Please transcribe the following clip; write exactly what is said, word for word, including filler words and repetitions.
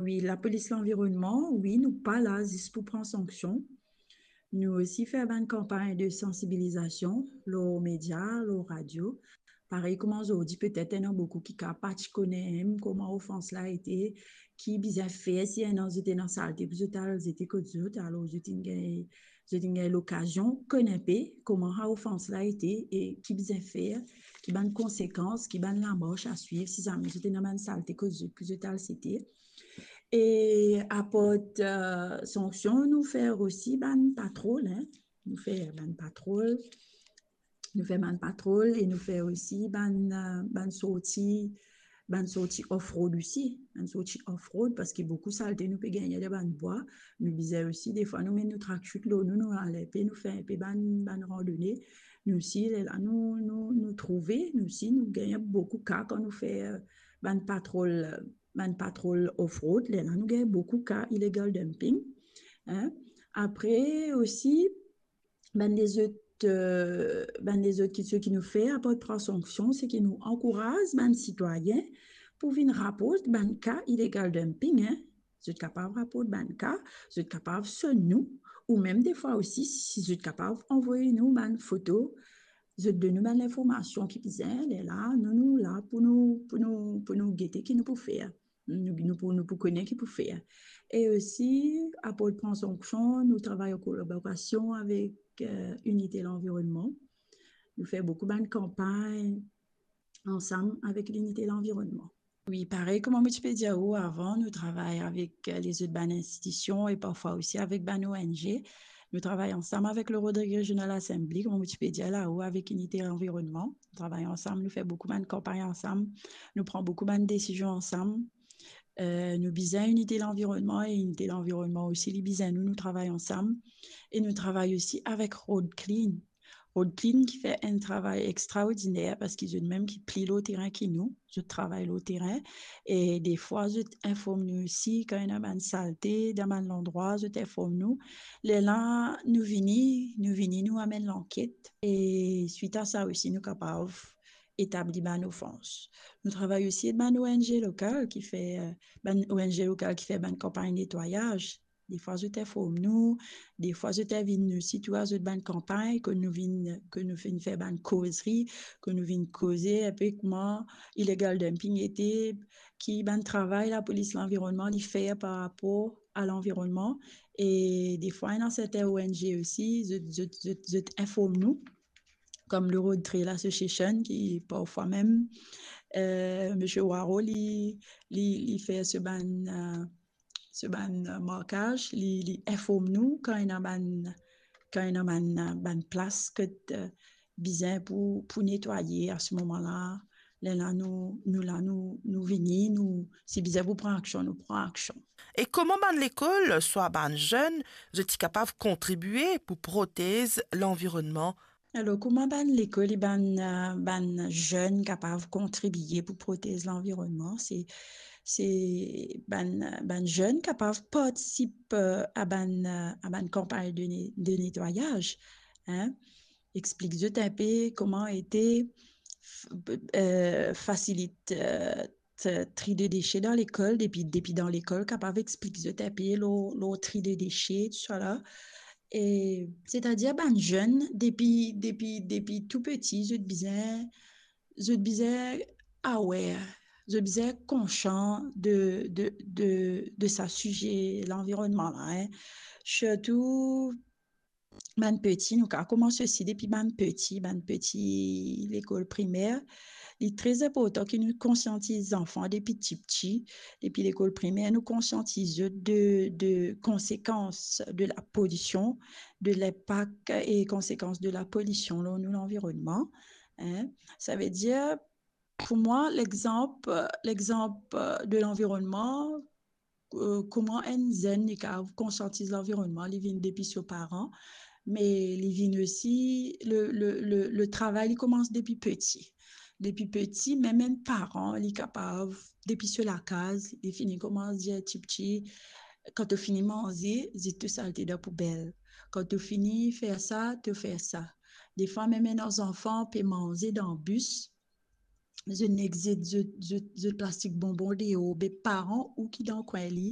Wi, lapolis lanvironnman, wi, nou pa la zis pou pran sanksion. Nou osi fer bann kanpagn de sansibilizasion lor media, lor radio. Parey kouma zordi, petet ena boukou ki kapav pa ti kone mem kouma ofans la ete, ki bizin fer si ena zot ena salte pou zot al zete kot zot, alor zot inn gagn, zot inn gagn lokazion konn inpe kouma sa ofans la ete e ki bizin fer, ki bann konsekans, ki bann lamars a swiv si zame zot ena bann salte kot zot pou zot al zete. E apart, eh, sanksion, nou fer osi bann patrol, en. Nou fer bann patrol. Nou fer bann patrol e nou fer osi bann, eh, bann sorti, bann sorti off-road osi. Bann sorti off-road, parski boukou salte nou pe gagne dan bann bwa. Nou bizin osi, defwa, nou met nou tracksuit lor nou, nou al inpe, nou fer inpe bann, bann randone. Nou osi, lerla nou, nou, nou trouve, nou osi, nou gagn boukou ka kan nou fer bann patrol, bann patrol off-road, lerla nou gagn boukou ka illegal dumping, en. Apre osi, bann lezot, eh, bann lezot kiksoz ki nou fer, apart pran sanksion, se ki nou ankouraz bann sitwayin pou vinn raport bann ka illegal dumping, en. Zot kapav raport bann ka, zot kapav sonn nou, ou mem defwa osi, si zot kapav anvoy nou bann foto, zot donn nou bann linformasion ki bizin, lerla, nou, nou la pou nou, pou nou, pou nou gete ki nou pou fer. Nou, nou pou, nou pou kone ki pou fer. E osi, apart pran sanksion, nou travay an kolaborasion avek, eh, Inite Lanvironnman. Nou fer boukou bann kanpagn ansam avek Linite Lanvironnman. Wi, parey kouma mo ti pe dir ou avan, nou travay avek, eh, lezot bann institision e parfwa osi avek bann O N G. Nou travay ansam avek le Rodrigues Regional Assembly, kouma mo ti pe dir la ou, avek Inite Lanvironnman. Nou travay ansam, nou fer boukou bann kanpagn ansam, nou pran boukou bann desizion ansam. Eh, nou bizin Inite Lanvironnman e Inite Lanvironnman osi, li bizin nou, nou travay ansam. E nou travay osi avek Road Clean. Road Clean ki fer enn travay extraordiner parski zot mem ki pli lor terin ki nou, zot travay lor terin. E defwa, zot inform nou osi kan ena bann salte dan bann landrwa, zot inform nou. Lerla nou vini, nou vini, nou amenn lanket. E swit a sa osi, nou kapav etabli bann ofans. Nou travay osi ek bann O N G lokal ki fer, eh, bann O N G lokal ki fer bann kanpagn netwayaz. Defwa zot inform nou, defwa zot invit nou sitou a zot bann kanpagn, ke nou vinn, ke nou vinn fer bann kozri, ke nou vinn koze inpe kouma illegal dumping ete, ki bann travay lapolis lanvironnman li fer par rapor a lanvironnman. E defwa ena sertin O N G osi, zot, zot, zot, zot inform nou, kom le Road Trail Association ki parfwa mem, eh, Misie Waro li, li, li fer so bann, eh, so bann, eh, markaz, li, li inform nou kan ena bann, kan ena bann, eh, bann plas kot, eh, bizin pou, pou netwaye a se moman la. Lerla nou, nou la, nou, nou vini, nou, si bizin pou pran aksion, nou pran aksion. E kouma bann lekol, swa bann zenn, zot ti kapav kontribie pou protez lanvironnman? Alor, kouma bann lekol e bann, eh, bann zenn kapav kontribie pou protez lanvironnman? Se, se bann, bann zenn kapav partisip, eh, a bann, eh, a bann kanpagn de ne-, de netwayaz, en. Explik zot inpe kouma ete, f-, eh, fasilit, eh, t-, tri de dese dan lekol, depi, depi dan lekol, kapav explik zot inpe lor, lor tri de dese, tousala. E, setadir bann zenn, depi, depi, depi tou peti, zot bizin, zot bizin aware, zot bizin konsian de, de, de, de sa size lanvironnman la, en. Sirtou, bann peti, nou kapav koumans osi depi bann peti, bann peti lekol primer. Li tre inportan ki nou konsiantiz zanfan depi tipti, depi lekol primer, nou konsiantiz zot de, de konsekans de lapolision, de linpak e konsekans de lapolision lor nou lanvironnman, en. Savedir, pou mwa, lexanp, lexanp de lanvironnman, eh, kouma enn zenn li kapav konsiantiz lanvironnman, li vinn depi so paran, me li vinn osi, le, le, le, le travay li koumans depi peti. Depi peti, mem enn paran, li kapav, depi so lakaz, li fini koumans dir tipti, kan to fini manze, zet to salte dan poubel. Kan to fini fer sa, to fer sa. Defwa, mem enn zanfan pe manze dan bis, zot nek zet zot, zot, zot plastik bonbon deor, be paran ou ki dan kwin li,